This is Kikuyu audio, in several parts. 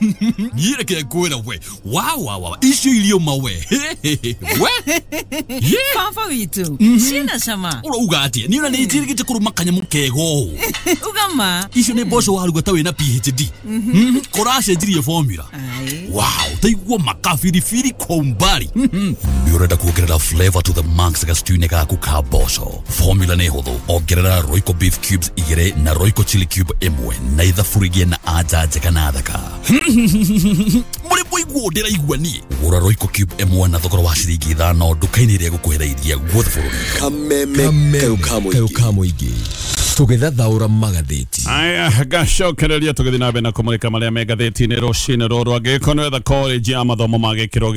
Niĩ ngwĩra we wa wa wa icio irio mawe we. Baba witũ ciĩna cama. Ũrauga atĩa? Niĩ ona nĩ njĩrĩgĩte kũrũma kanyamũ kega ũũ. Uga ma. Icio nĩ mboco waruga ta wĩna PhD. Kũracenjirie formula. Wow, taigua makabiribiri kwa umbali. Nĩ ũrenda kuongerera flavor to the max gastew-inĩ gaku ka mboco. Formula nĩ hũthũ. Ongerera Royco beef cubes 2 na Royco chili cube 1 na ithabu na anja njega na thaka. Mũrĩ mũiguo ndĩraigua niĩ. Gũra Royco cube 1 na thogora wa ciringi 5 nduka-inĩ ĩrĩa ĩgũkuhĩrĩirie guothe bũrũri. Kameme kayũ ka mũingĩ tũgĩthathaũra magathĩti. Aya, gacokereria tũgĩthiĩ na mbere na kũmũrĩka marĩa me ngathĩti-inĩ rũcinĩ rũrũ. Angĩgĩkorwo nĩ wetha college ya mathomo ma gĩkĩro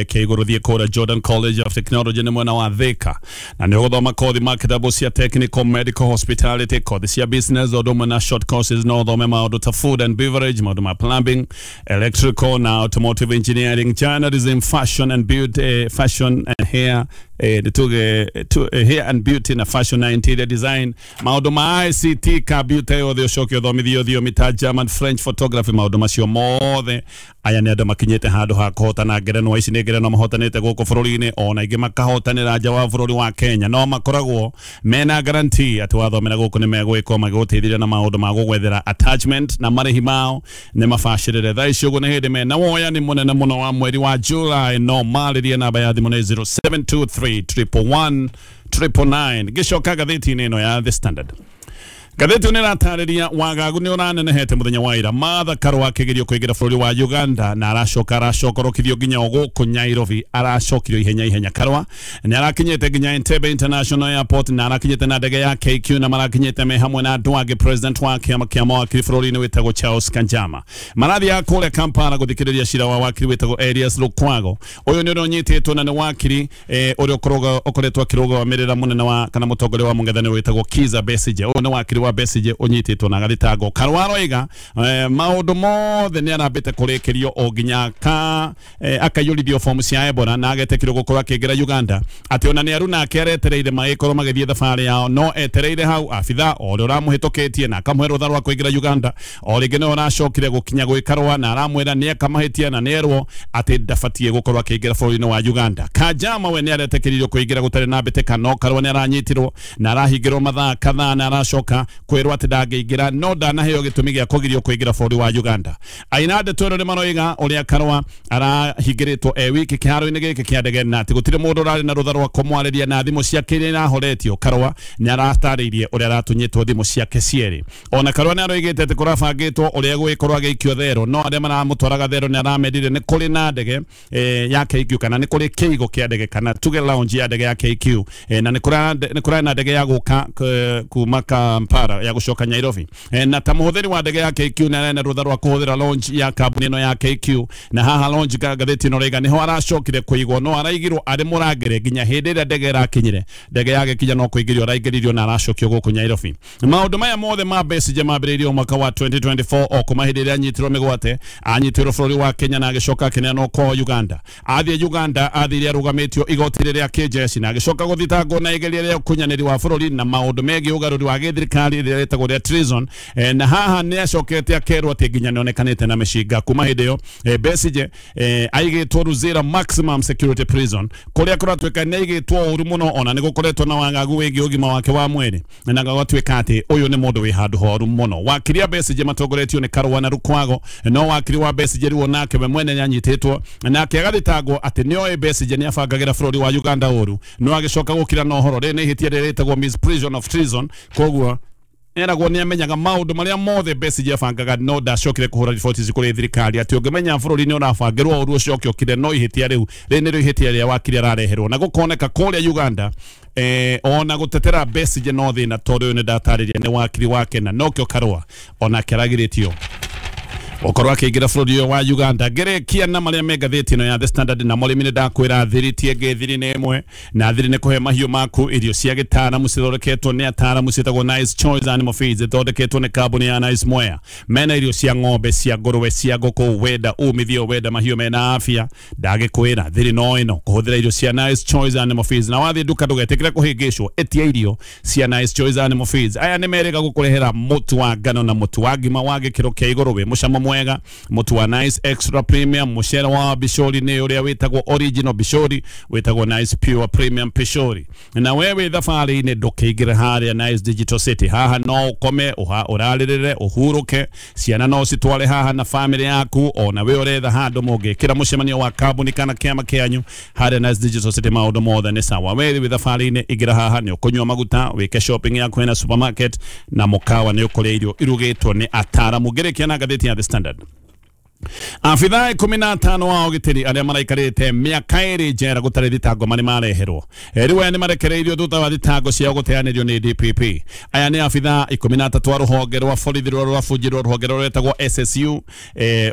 kĩa igũrũ, thiĩ kũrĩa Jordan College of Technology nĩ mwena wa Thika, na nĩ ũgũthoma kothi ma kĩrabu cia technical, medical, hospitality, kothi cia business ũndũ ũmwe na short courses. No ũthome maũndũ ta food and beverage, maũndũ ma plumbing, electrical na automotive engineering, journalism, fashion and beauty, fashion and hair, nĩtuge hair and beauty na fashion na interior design, maũndũ ma ICT, computer yothe, ũcoke ũthomithio thiomi ta German, French, photography, maũndũ macio mothe. Aya nĩ andũ makinyĩte handũ ha kũhotana ngerenwa. Ici nĩ ngerenwa mahotanĩte gũkũ bũrũri-inĩ, ona ingĩ makahotanĩra nja wa bũrũri wa Kenya. No makoragwo mena guarantee atĩ wathomera gũkũ nĩ megwĩkwo magĩgũteithĩrĩria na maũndũ ma gũgwethera attachment, na marĩhi mao nĩ mabacĩrĩre. Thaa ici ũguo nĩ hĩndĩ mena woyani mũnene mũno wa mweri wa July. No marĩrie, namba ya thimũ nĩ 0723 111 999. Gĩcoka ngathĩti-inĩ ĩno ya The Standard, ngathĩti nĩ ĩratarĩria wagagu nĩ ũranenehete mũthenya wa ira. Martha Karua akĩgerio kũingĩra bũrũri wa Uganda na aracoka aracokorokithio nginya o gũkũ Nairobi, aracokirio ihenya ihenya. Karua nĩ arakinyĩte nginya Entebbe International Airport na arakinyĩte na ndege ya KQ, na marakinyĩte me hamwe na andũ angĩ. President wa kĩama kĩa mawakiri bũrũri-inĩ wĩtagwo Charles Kanjama marathiaga kũrĩa Kampala gũthikĩrĩria cira wa wakiri wĩtagwo Elias Lukwago. Ũyũ nĩ ũrĩa ũnyitĩtwo na nĩ wakiri ũrĩa ũkoretwo akĩrũgamĩrĩra mũnene wa kana mũtongoria wa mũng'ethanĩro wĩtagwo Kizza Besigye. Ũyũ nĩ wakiri wa Besigye ũnyitĩtwo na agathitangwo. Karua aroiga maũndũ mothe nĩ arambĩte kũrĩkĩrio o nginya ka akaiyũrithio fomu cia Ebola na agetĩkĩrwo gũkorwo akĩingĩra Uganda, atĩ ona nĩ aru nake aretereire magĩkorwo magĩthiĩ thabarĩ yao, no etereire hau abitha o ũrĩa ũramũhĩtũkĩtie na akamũhe rũtha rwa kũingĩra Uganda. O rĩngĩ nĩwe ũracokire gũkinya gwĩ Karua na aramwĩra nĩ eka mahĩtia na nĩerwo atĩ ndabatiĩ gũkorwo akĩingĩra bũrũri-inĩ wa Uganda. Kanjama we nĩ aretĩkĩririo kũingĩra gũtarĩ na mbĩtĩka, no Karua nĩ aranyitirwo na arahingĩrwo mathaa kadhaa na aracoka kwĩrwo atĩ ndangĩingĩra, no ndanaheo gĩtũmi gĩa kũgirio kũingĩra bũrũri wa Uganda. Aina ndeto ĩno nĩ maroiga ũrĩa Karua arahingĩrĩtwo e wiki kĩharo-inĩ gĩkĩ kĩa ndege na atĩ gũtirĩ mũndũ ũrarĩ na rũtha rwa kũmwarĩria na thimũ ciake iria irahoretio. Karua nĩ aratarĩirie ũrĩa aratunyĩtwo thimũ ciake cierĩ. Ona Karua nĩ aroigĩte atĩ kũrabangĩtwo ũrĩa egũgĩkorwo agĩikio thero, no arĩa maramũtwaraga thero nĩ aramerire nĩ kũrĩ na ndege ya KQ, kana nĩ kũrĩ kĩigo kĩa ndege, kana tuge lounge ya ndege ya KQ, na nĩ kũrarĩ na ndege ya gũka kuma Kampala ya gũcoka Nairobi, na ta mũhũthĩri wa ndege ya KQ nĩ arĩ na rũtha rwa kũhũthĩra lounge ya kambuni ĩno ya KQ. Na haha lounge ngathĩti ĩno raiga nĩho aracokire kũigwo, no araigirwo arĩ mũrangĩre nginya hĩndĩ ĩrĩa ndege ĩrakinyire. Ndege yagĩkinya no kũingĩrio araingĩririo na aracokio gũkũ Nairobi. Maũndũ maya mothe ma Besigye mambĩrĩirio mwaka wa 2024, o kuma hĩndĩ ĩrĩa anyitirwo mĩgwate. Anyitirwo bũrũri wa Kenya na agĩcoka akĩneanwo kwao Uganda. Athiĩ Uganda athire arũgamĩtio igoti rĩrĩa kĩjeshi na agĩcoka gũthitangwo na igeria rĩa ũkunyanĩri wa bũrũri na maũndũ megiĩ ũgarũri wa gĩthirikari rĩrĩa rĩtagwo rĩa treason, na haha nĩ acokete akerwo atĩ nginya nĩonekanĩte na mĩcinga. Kuma hĩndĩ ĩyo Besigye aigĩtwo Luzira Maximum Security Prison, kũrĩa kũratuĩka nĩ aigĩtwo ũru mũno, ona nĩ gũkoretwo na wagagu wĩgiĩ ũgima wake wa mwĩrĩ, na gũgatuĩka atĩ ũyũ nĩ mũndũ wĩ handũ horu mũno. Wakiri a Besigye matongoretio nĩ Karua na Lukwago, no wakiri wa Besigye rĩu onake we mwene nĩanyitĩtwo nake agathitangwo atĩ nĩoĩ Besigye nĩabangagĩra bũrũri wa Uganda ũru, no agĩcoka gũkira na ũhoro. Rĩrĩ nĩ ihĩtia rĩrĩa rĩtagwo misprision of treason. Koguo eragwo nĩ amenyaga maũndũ marĩa mothe Besigye abangaga, no ndacokire kũhũra riboti ici kũrĩ thirikari, atĩ ũngĩmenya bũrũri nĩ ũrabangĩrwo ũru ũcoke ũkire. No ihĩtia rĩu rĩrĩ nĩrĩo ihĩtia rĩa wakiri arareherwo na gũkoneka kũrĩa Uganda ona gũtetera Besigye no thĩna, tondũ ũyũ nĩ ndatarĩria nĩ wakiri wake, na nokĩo Karua onake aragirĩtio okorwo akĩingĩra bũrũri ũyũ wa Uganda. Ngĩrĩkia na marĩa me ngathĩti ĩno ya The Standard, na mũrĩmi nĩ ndakwĩra thiri ti ĩngĩ, thiri nĩ ĩmwe, na thiri nĩ kũhe mahiũ maku irio cia gĩtaaramu cithondeketwo nĩ ataaramu ciĩtagwo Nice Choice Animal Feeds, ithondeketwo nĩ kambuni ya Nice Mwea. Mena irio cia ng'ombe, cia ngũrwe, cia ngũkũ. Wenda umithio, wenda mahiũ mena afya, ndagĩkwĩra thiri no ĩno, kũhũthĩra irio cia Nice Choice Animal Feeds. Na wathiĩ nduka ndũgetĩkĩre kũhĩngĩcwo, ĩtia irio cia Nice Choice Animal Feeds. Aya nĩ merĩga gũkũrehera mũtu wa ngano na mũtu wa ngima wa gĩkĩro kĩa igũrũ wĩ mũcamo. mwega, mũtu wa Nice Extra Premium, mũcere wa Bishori nĩ ũrĩa wĩtagwo original Bishori, wĩtagwo Nice Pure Premium Pishori. Na wewe thabarĩ-inĩ ndũkĩingĩre harĩa Nice Digital City, haha no ũkome ũrarĩrĩre ũhurũke, ciana no citware haha na family yaku, ona we ũretha handũ mũngĩkĩra mũcemanio wa kambuni kana kĩama kĩanyu harĩa Nice Digital City, maũndũ mothe nĩ sawa. We wĩ thabarĩ-inĩ ingĩra haha nĩ ũkũnyua maguta, wĩke shopping yaku na supermarket, na mũkawa nĩ ũkũrĩa irio irugĩtwo nĩ ataaramu. Ngĩrĩkia na ngathĩti ya The Standard. Afithaa 15 wa ũgitĩri arĩa maraikarĩte mĩaka 2 njera gũtarĩ thitango marĩ mareherwo rĩu aya nĩ marekereirio thutha wa thitango ciao gũteanĩrio nĩ DPP. Aya nĩ afithaa 13 a rũhonge rwa borithi rũrĩa rwabunjirwo rũhonge rũrĩa rwĩtagwo SSU.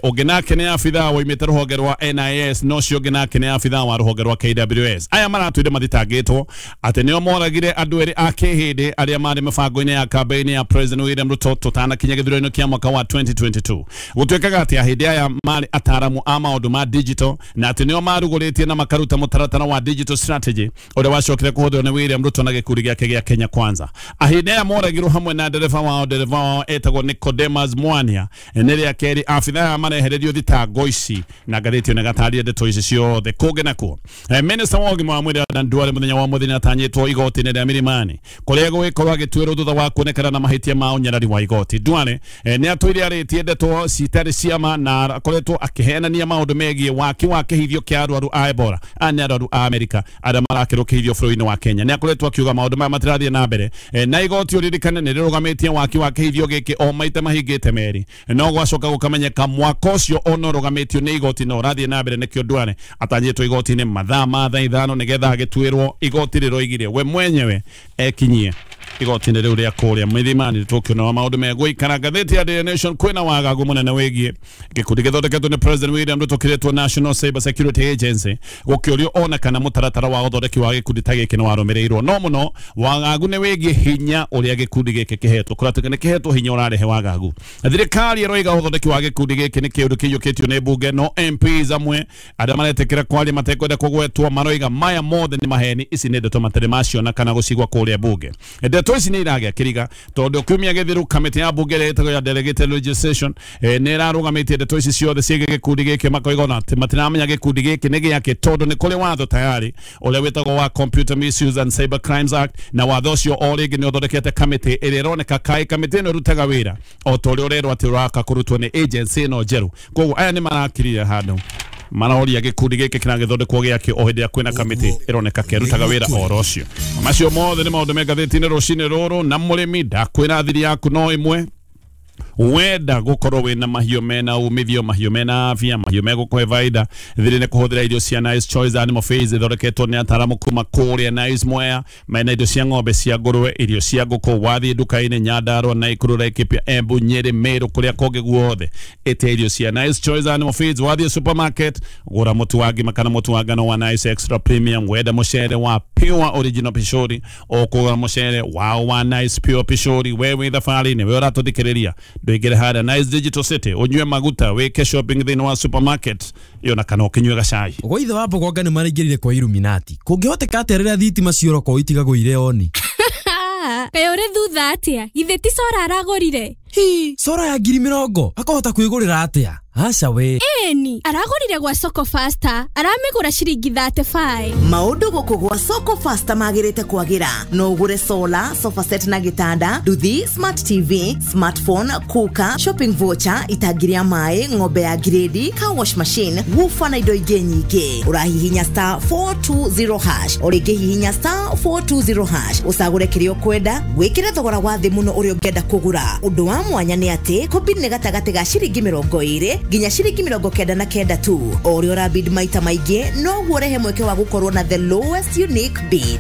Ũngĩ nake nĩ afithaa woimĩte rũhonge rwa NIS, no ũcio ũngĩ nake nĩ afithaa wa rũhonge rwa KWS. Aya maratwire mathitangĩtwo atĩ nĩo moragire andũ erĩ a kĩhĩndĩ arĩa marĩ mĩbango-inĩ ya kambeini ya President William Ruto tũtanakinya gĩthurano kĩa mwaka wa 2022. Gũtuĩkaga atĩ ahĩndĩ aya marĩ ataaramu a maũndũ ma digital na atĩ nĩo marugũrĩtie na makaruta mũtaratara wa digital strategy ũrĩa wacokire kũhũthĩrwo nĩ William Ruto na gĩkundi gĩake gĩa Kenya Kwanza. Ahĩndĩ aya moragirwo hamwe na ndereba wao etagwo Nicodemus Mwania. Nĩ rĩa kerĩ abithaa aya marehererio thitango ici na ngathĩti ĩno ĩgataria ndeto ici ciothe. Kũngĩ nakuo, Minister wa ũgima wa mwĩrĩ Adan Duale mũthenya wa mũthenya atanyĩtwo igoti-inĩ rĩa Milimani kũrĩa egũgĩkorwo agĩtuĩrwo thutha wa kuonekana na mahĩtia ma ũnyarari wa igoti. Duale nĩ atũire arĩtie ndeto citarĩ cia ma na akoretwo akĩhenania maũndũ megiĩ waki wa kĩhithio kĩa arwaru a Ebola nĩ arwaru a Amerika arĩa marakĩrwo kĩhithio bũrũri-inĩ wa Kenya. Nĩ akoretwo akiuga maũndũ maya matirathiĩ na mbere, na igoti ũririkane nĩ rĩrũgamĩtie waki wa kĩhithio gĩkĩ o maita mahingĩte merĩ, no gwacoka gũkamenyeka mwaka ũcio ona ũrũgamĩtio nĩ igoti na ũrathiĩ na mbere. Nĩkĩo Duale atanyĩtwo igoti-inĩ mathaa ma thaa 5 nĩgetha agĩtuĩrwo. Igoti rĩroigire we mwenyewe ekinyie igoti-inĩ rĩu rĩa kũrĩa Milimani. Tũkĩona maũndũ megũikara. Ngathĩti ya Daily Nation kwĩna wagagu mũnene wĩgiĩ gĩkundi gĩthondeketwo nĩ President William Ruto kĩretwo National Cyber Security Agency gũkĩũrio ona kana mũtaratara wa ũthondeki wa gĩkundi ta gĩkĩ nĩ warũmĩrĩirwo. No mũno wagagu nĩ wĩgiĩ hinya ũrĩa gĩkundi gĩkĩ kĩhetwo, kũratuĩka nĩ kĩhetwo hinya ũrarehe wagagu. Thirikari ĩroiga ũthondeki wa gĩkundi gĩkĩ nĩ kĩũndũ kĩiyũkĩtio nĩ mbunge, no MPs amwe arĩa maretĩkĩra kwaria matekwenda kũgwetwo maroiga maya mothe nĩ maheni, ici nĩ ndeto matarĩ maciona kana gũcigua kũrĩa mbunge. Ndeto ici nĩ iragĩa kĩriga tondũ kiumia gĩthiru kamĩtĩ ya mbunge ĩrĩa ĩtagwo ya Delegated Legislation nĩ ĩrarũgamĩtie ndeto ici ciothe ciĩgiĩ gĩkundi gĩkĩ, makoiga ona atĩ matiramenya gĩkundi gĩkĩ nĩ gĩakĩ tondũ nĩ kũrĩ watho tayari ũrĩa wĩtagwo wa Computer Misuse and Cyber Crimes Act, na watho ũcio o rĩngĩ nĩ ũthondekete kamĩtĩ ĩrĩa ĩroneka kaĩ kamĩtĩ ĩno ĩrutaga wĩra o ta ũrĩa ũrerwo atĩ ũraka kũrutwo nĩ agency ĩno njerũ. Koguo aya nĩ marakirire handũ maraoria gĩkundi gĩkĩ kĩragĩthondekwo gĩakĩ o hĩndĩ ĩrĩa kwĩna kamĩtĩ ĩroneka kĩrutaga wĩra oro ũcio. Macio mothe nĩ maũndũ me ngathĩti-inĩ rũcinĩ rũrũ. Na mũrĩmi ndakwĩra thiri yaku no ĩmwe, wenda gukorwo wina mahiũ mena umithio, mahiũ mena afya, mahiũ megũkũhe baida, thiri nĩ kũhũthĩra irio cia Nice Choice Animal Feeds ithondeketwo nĩ ataaramu kuma kũrĩa Nice Mwea, mena irio cia ng'ombe, cia ngũrwe, irio cia ngũkũ. Wathiĩ nduka-inĩ Nyandarua, Naikuru, Laikipia, Embu, Nyeri, Meru, kũrĩa kũngĩ guothe ĩte irio cia Nice Choice Animal Feeds. Wathiĩ supermarket gũra mũtu wa ngima kana mũtu wa ngano wa Nice Extra Premium, wenda mũcere wa Pure Original Pishori, ũkũgũra mũcere wao wa Nice Pure Pishori. We wĩ thabarĩ-inĩ, we ũratũthikĩrĩria, ndũingĩre harĩa Nice Digital City ũnyue maguta, wĩke shopping thĩinĩ wa supermarket ĩyo na kana ũkĩnyue gacai. Gwa ithe wa Mbogonga nĩ maraingĩrire kwa Illuminati. Kũngĩhoteka atĩa rĩrĩa thitima ciora kwao itigagũire oni? Kaĩ ũrĩ thutha atĩa? Githĩ ti cora aragũrire? Hi, cora ya 20,000 akahota kwĩgũrĩra atĩa? Aca we. Ĩni, aragũrire gwa Soko Faster, aramĩgũra ciringi 35. Maũndũ gũkũ gwa Soko Faster magĩrĩte kwagĩra. No ũgũre solar, sofa set na gĩtanda, nduthi, smart TV, smartphone, cooker, shopping voucher, itangi rĩa maĩ, ng'ombe ya grade, car wash machine, woofer na indo ingĩ nyingĩ. Ũrahihinya star 420 hash, o rĩngĩ hihinya star 420 hash, ũcagũre kĩrĩa ũkwenda, wĩkĩre thogora wa thĩ mũno ũrĩa ũngĩenda kũgũra. Ũndũ wa mwanya nĩ atĩ kũbid nĩ gatagatĩ ga ciringi 20 nginya ciringi 99 tu. O ũrĩa ũrabid maita maingĩ noguo ũrehe mweke wa gũkorwo na the lowest unique bid.